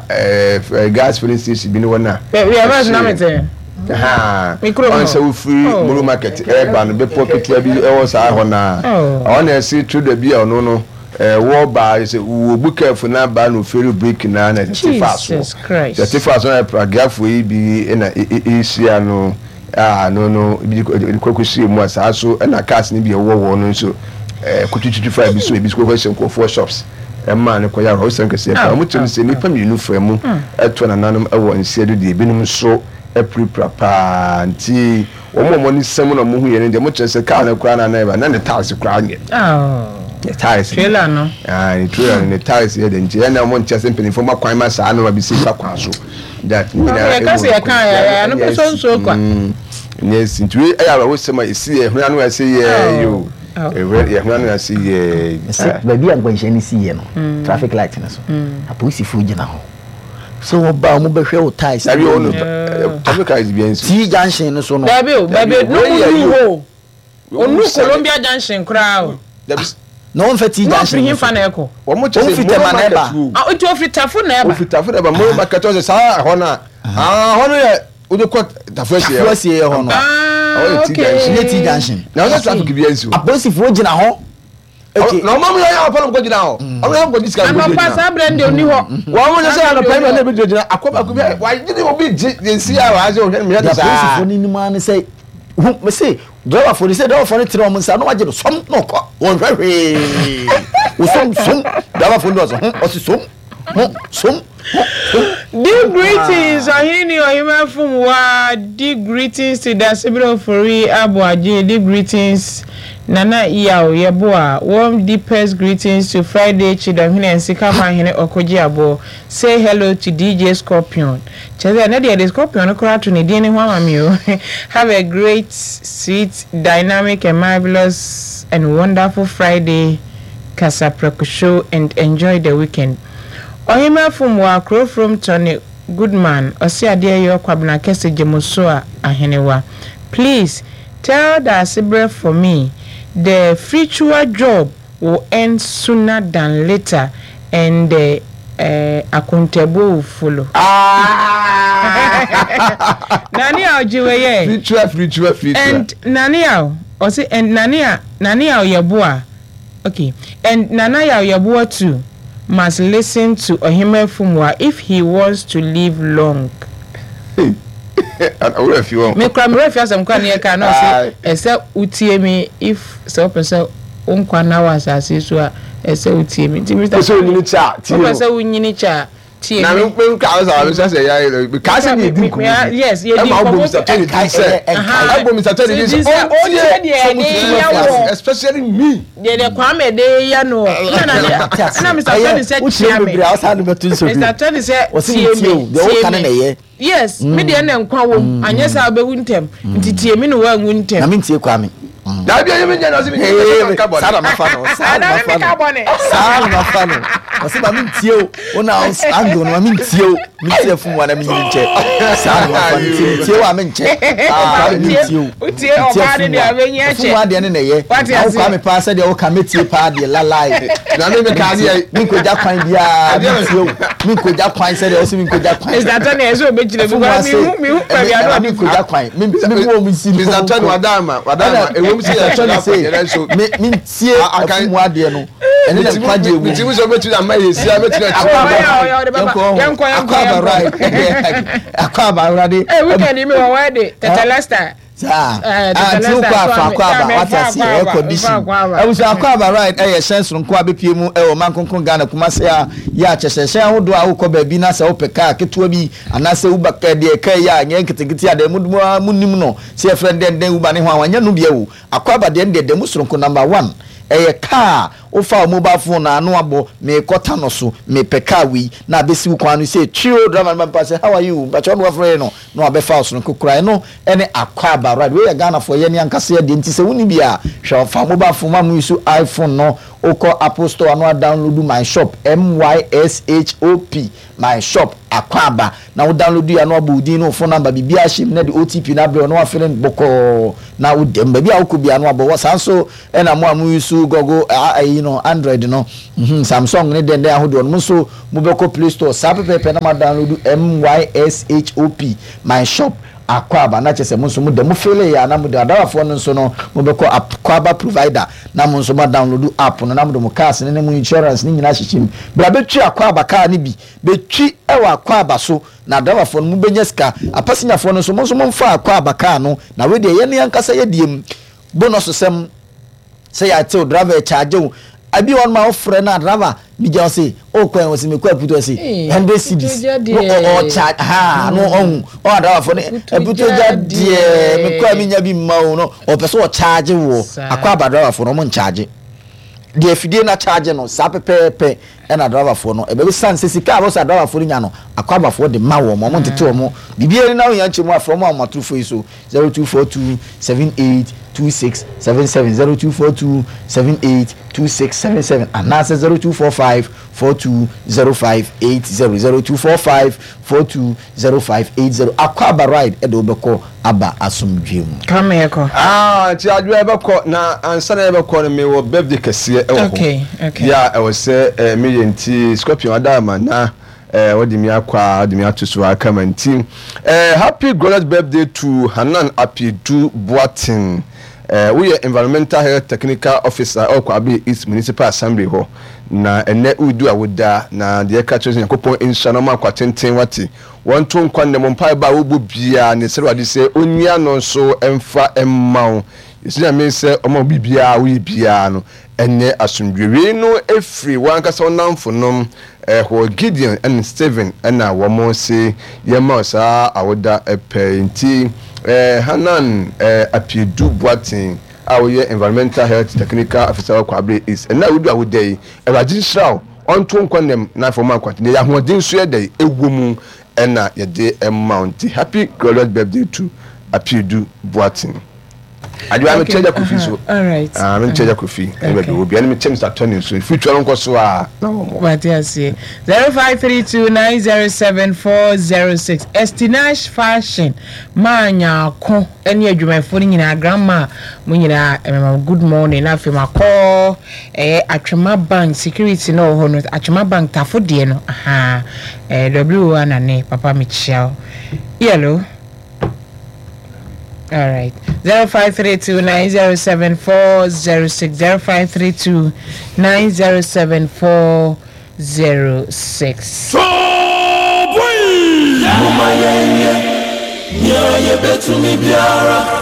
a ɛɛ gas filling station bi ne hɔ na. Baabi a bus na mete. Me kurom hɔ. Ɔn sɛ wofiri oh. Moro market ɛɛba no bepɔ ketewa bi ɛwɔ saa hɔ naa. Ɔhɔ na ɛse trader bi a ɔno no ɛwɔ baa sɛ wɔbu kɛɛfo na baa na oferi break na na ɛte fa so. Ɛte fa so na pragiafoɔ yi bi na ɛhyia no a no no bi kɔkɔ mu a saa so ɛna cars no bi ɛwɔ hɔ no nso kotwitwitwi fa bi so ebi so kɔkɔ hyɛ nkurɔfoɔ shops. Ɛmaa no kɔyɛ awerɛhosɛm kɛseɛ paa. Wɔkyerɛ mu sɛ nnipa mmienu faa mu toa nananom wɔ nseɛ do deɛ ebinom nso apirapira paa. Nti wɔn a wɔn ani sa mu na wɔhuiɛ no deɛ wɔkyerɛ sɛ kaa no koraa na na ɛba na ne tiles koraa nyɛ. Ne tiles. Trailer no. Ah, ne trailer no ne tiles yɛ dɛ nti ɛna wɔn nkyɛ sɛ mpanimfoɔ ma kwan ma saa nneɛma bi si fa kwan so. That ne nyinaa ɛwɔ yɛka sɛ yɛka yɛ no pɛ so nsuo kwa. Nyɛ si nti wei ɛyɛ awerɛhosɛm a ɛsi yɛ hwene ano ɛsɛ yɛ yo. Yɛhunu ano ase yɛɛ. Mese baabi a nkwanhyia no siiɛ no, traffic light no so, apolisifoɔ gyina hɔ. Sɛ wɔba a wɔbɛhwɛ wo tyres. Dabi o no traffic light bi nsi. T junction no so no. Dabi o baabi no mu nu hɔ o. Onu Columbia junction koraa o. Dabi. Na wɔn fɛ T junction no so. Na ofiri hefa na ɛkɔ? Wɔn kyɛ sɛ Moro market o. Ah nti ofiri Tafo na ɛba. Ofiri Tafo na ɛba Moro market ɔsɛ saa ɛhɔ na. Ah hɔ no yɛ. Wode kɔ Tafo Asie hɔ. Tafo Asie hɔ no. Ah, okay. Ɛnyɛ T junction. Na ɔsɛ traffic bi ansi hɔ. Apolisifoɔ gyina hɔ. Okay. Na ɔmo yɛ anɔpa na ɔmo kɔ gyina hɔ. Ɔmo yɛ ɔmo kɔ sika gyina. Anɔpa saa abirɛ ndi oni hɔ. Wɔn mo sɛ anɔpa yi na ebi gyina akɔ baako bi wagye obi gye de nsi a wɔasɛ ɔhwɛ no mehwɛ no saa. Apolisifoɔ no nim ara ne sɛ hu me se driverfoɔ no sɛ driverfoɔ no tene wɔn nsa na wagye no sɔm na ɔkɔ wɔn hwɛ hwee wosɔm som driverfoɔ no ɔsɛ ho ɔsɛ som. Ho som ho som. Di greetings ɔhene ni ɔhema fom waa di greetings to Dasebrɛ Ofori Aboagye di greetings Nana Yaw Yeboah warm deepest greetings to Friday Kyidɔhene Nsikama Hene Ɔkogye Aboɔ say hello to DJ Scorpion kyerɛ sɛ ɛnɛ deɛ yɛde Scorpion no koraa ato ne din no ho ama me o have a great sweet dynamic and marvelous and wonderful Friday Kasaprɛko show and enjoy the weekend. Ɔhemmaa fom wɔ akro from Tony Goodman ɔse adeɛ yɔ Kwabena kɛse Gyemosoa Ahenewa please tell Daasebrɛ for me the fritual job will end sooner than later and the eh akontabuo will follow. Nane a ɔgye wei ɛ. Fritual fritual fritual. And Nane a ɔse and Nane a Nane a ɔyɛboa. Ok and Nana Yaw Yeboah too must listen to Ɔhemmaa Fumua if he wants to live long. Ei wo werɛ afi wɔn. Me koraa me werɛ afi asɛm koraa ne yɛkaa na ɔse ɛsɛ wotie me if sɛ wopɛ sɛ wo nkwa nna wɔ asase yi so a ɛsɛ wotie me nti Mister Wopɛ sɛ wonyini kyɛ a tie no. Wopɛ sɛ wonyini kyɛ a tie Na me. me me ka sɛ me sɛ sɛ ya me ka sɛ ne di nkɔmɔ bi. Yes, yɛ di Ɛma nkɔmɔ ɔbɔ Mr. Tony din sɛ Aha. ɛbɔ Mr. Tony din Din sɛ sɛ ɔntie ɔntie deɛ sɛ ɔmo yɛde tutu yɛ afi ase wɔ. especially me. Deɛ deɛ Kwame de yɛ no ɛna na ɛna Mr. Tony sɛ wokyerɛ kyia me. bebree a wosan de bɛto nso bio Mr. Tony sɛ Wɔse tie mentie me o, deɛ woka tie no me. na ɛyɛ. Yes, me deɛ na nkwa wom anyɛ saa wobɛwu ntɛm nti tie me na woanwu ntɛm. Na mentie Kwame. Dabi ɛyɛ me nyɛ na ɔse me nyɛ na nka bɔne. Saa na mafa no, saa na mafa no, saa na mafa no. Ɔse ma mentie o, wo na angle no ma mentie o, mentie afum wa na menyini nkyɛ. Saa na mafa no, nti mentie o a menkyɛ. Kwame mentie o, Wotie ɔbaa no deɛ ɔbɛnyi akyɛ. Afum wa deɛ ne na ɛyɛ. Na wo Kwame paa sɛdeɛ woka mɛtie paa deɛ lalai. Na me meka adeɛ. Menkɔgya kwan biara, mentie o, menkɔgya kwan sɛdeɛ wose menkɔgya kwan. Mr. Tony ɛsɛ ɔbɛkyerɛ because mehu mehu baabi ano ɔde menkɔgya kwan, me me mu ɔmo si no. Mr. Tony wadama wadama ewom sɛ yɛ Tony se me mentie afumu adeɛ no ɛne na nkwagye ewu. Metimu sɛ ɔbɛtumi ama yɛ si abɛtumi akyerɛ. Yɛnkɔ akɔ aba right akɔ aba awurade. Ee weekend yi mi wɔ wɔ de Tetelestai. Saa ah nti wokɔ afa akɔ aba wate aseɛ air condition abusua akɔ aba ride ɛyɛ hyɛn soronko a bɛpie mu ɛwɔ man kronkron Ghana Kumase a yɛ a kyɛsɛ hyɛn ahodoɔ a wokɔ baabi na sɛ wopɛ kaa ketewa bi anaasɛ uber kaa deɛ kaa yi a nyɛ nketenkete a deɛ mo mo nim no sɛ yɛfrɛ no dɛn dɛn uber ne ho a wanyɛ no bia o akɔ aba deɛ no deɛ da mu soronko number one ɛyɛ kaa a wofa wo mobile phone na ano abɔ meekɔ Tano so mepɛ kaa wei na abɛsi wo kwan no sɛ twio driver no ba mpa sɛ how are you mpakyɛ wo na wafrɛ no na wabɛfa wo soronko koraa ɛno ɛne Akwaaba right wei yɛ Ghanafoɔ yɛne ankasa yɛ deɛ nti sɛ wonni bi a hwɛ fa mobile phone ma mo use iPhone no wokɔ Apple store ano a download my shop MYSHOP my shop Akwaaba na wo download yɛ ano abɔ wo din ne wo phone number biribiara hyɛ mu na de OTP no abrɛ wo na wafele no bɔkɔɔ na wo dɛm baabi a wokɔ biara no abɔ wɔ saa nso ɛna mo a mo use Google ayi ɛyi no Android no, mhm, Samsung ne dɛn dɛn ahodoɔ no, mo nso mobɛkɔ Play Store saa pɛpɛɛpɛ na mo adownload MYSHOP, My Shop, Akwaaba, na kyerɛ sɛ mo nso mo da mo feelee yɛ a na mo da Adarafoɔ no nso no mobɛkɔ Akwaaba Provider na mo nso mo adownload app no na mode mo cars no ne mo insurance no nyinaa ahyehyɛ mu. Bra bɛtwi Akwaaba car no bi, bɛtwi wɔ Akwaaba so na adraivafoɔ no mobɛnya sika, apasenyafoɔ no nso mo nso momfa Akwaaba car no na wei deɛ yɛn ankasa yɛdeɛ mu bonus sɛm. Sɛ yɛate wo driver ɛkyaagye wo ebi wɔ hɔ nom a wofrɛ no a driver bi gya ɔse o kwan ɔse mekɔ aputu ɔse hundred cedis no ɔkyaagye ha no ɔhu ɔha driver fo no aputu gya deɛ mekɔ a menya bi mma o no ɔpɛ sɛ ɔkyaagye woɔ akɔ aba driver fo no ɔmo nkyagye deɛ afidie no akyagye no saa pɛpɛɛpɛ ɛna driver foɔ no ɛbɛbi san sɛ sika a wɔsɛ driver foɔ no nya no akɔ abafoɔ de ma wɔn ɔmo ntete wɔn biribi ani na ohia nkyɛn mu afrɛ wɔn a wɔn atorofo yi so 0242 78 26 77 0242 78 26 77 anaasɛ 0245 42 05 80 0245 42 05 80 Akɔ aba ride de wo bɛkɔ aba asomdwoeɛ mu. Kwame yɛkɔ. Ah nti adwoa yɛbɛkɔ na ansa na yɛbɛkɔ no mewɔ birthday kɛseɛ ɛwɔ hɔ Okay, okay. yɛ a ɛwɔ sɛ eh, meyɛ nti Scorpion Adaama na Eh wode me akɔ a wode me ato so a kama nti eh happy glorious birthday to Hanan Apiedu Boateng eh woyɛ environmental health technical officer ɛwɔ Kwabre East Municipal Assembly hɔ na ɛnɛ woredi w'awoda na deɛ ɛka kyerɛ sɛ Nyankopɔn nhyira na ɔma nkwa tenten wate wɔnto nkwa nnɛ mo mpaebɔ a wobɔ biara ne srɛ Awurade sɛ ɔnyi ano nso mfa mma wo yɛsrɛ Nyame sɛ ɔma wo biribiara a woyɛ biara no Ɛnyɛ asomdwoe. Wei no firi w'ankasa wo nnamfonom hɔ, Gideon ne Stephen na wɔn se yɛmma wo saa awoda pɛ yi. Nti Hanan Apiedu Boateng a woyɛ Environmental Health Technical Officer wɔ Kwabre East, ɛnnɛ a wodi awoda yi, Awurade nhyira wo, ɔnto wo nkwa nnam na afei ɔmma nkwa tenten. Yɛyɛ ahoɔden nso yɛ dɛn? Ɛwɔ mu na yɛde ma wo. Nti happy glorious birthday to Apiedu Boateng. Adewa me kyɛ Kofi so. Ah, me kyɛ Kofi. Ɛne baabi wɔ bia ne me kyɛ Mr. Tony nso. Future no nkɔ so a na wɔn. Wate aseɛ. 0532907406 Estinash Fashion maa nyaako ne adwumayɛfoɔ no nyinaa grandma mo nyinaa ɛmɛma good morning na afei makɔ ɛyɛ Atwema Bank security na wɔ hɔ no Atwema Bank tafo deɛ no aha ɛɛ W anane papa mekyia wo yellow. All right. 0532 907 406. 0532 907 406. Momma yɛnyɛ nea yebetumi biara.